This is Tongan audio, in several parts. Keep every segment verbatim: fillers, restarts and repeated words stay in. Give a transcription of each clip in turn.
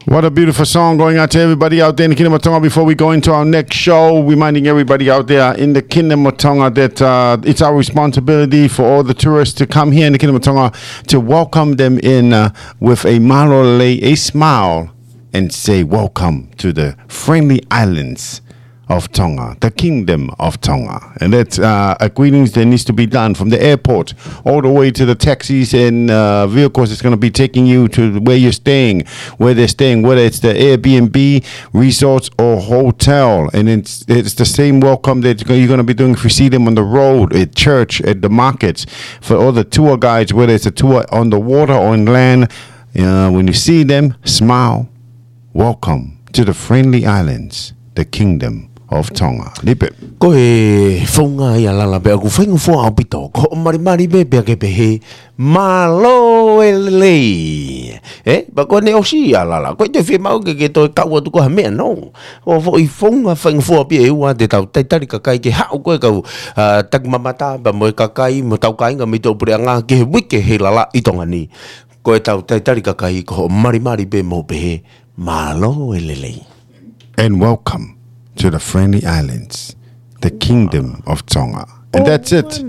What a beautiful song going out to everybody out there in the Kingdom of Tonga. Before we go into our next show, reminding everybody out there in the Kingdom of Tonga that uh, it's our responsibility for all the tourists to come here in the Kingdom of Tonga to welcome them in uh, with a mālō e lelei, a smile, and say, "Welcome to the friendly islands of Tonga, the Kingdom of Tonga." And that's uh, a greetings that needs to be done from the airport all the way to the taxis and uh, vehicles that's going to be taking you to where you're staying, where they're staying, whether it's the Airbnb, resorts, or hotel. And it's, it's the same welcome that you're going to be doing if you see them on the road, at church, at the markets. For all the tour guides, whether it's a tour on the water or on land, uh, when you see them, smile. Welcome to the friendly islands, the Kingdom of Tonga. Lipe. Ko e founga ia, Lala, pea ʻoku faingofua ʻaupito. Ko hoʻo malimali pē pea ke pehē, "Mālō e lelei." Eh, pea ko ʻene ʻosi ia, Lala, ko e toe fiemaʻu ke ke toe kau atu ko ha meʻa, no. Ko e foʻi founga faingofua pē ʻe ua te tau talitali kakai ke haʻu ko e kau, ah, takimamata, pea mo e kakai, mo hotau kāinga mei tuʻa puleʻanga, ki he uike hei lala ʻi Tonga ni. Ko ʻetau talitali kakai, ko hoʻo malimali pē mo pehē, "Mālō e lelei." And welcome to the friendly islands, the Kingdom of Tonga. And that's it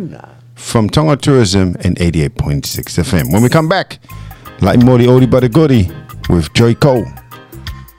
from Tonga Tourism and eighty-eight point six F M. When we come back, Laʻi Moli ʻOli Bada Godi with Joy Cole.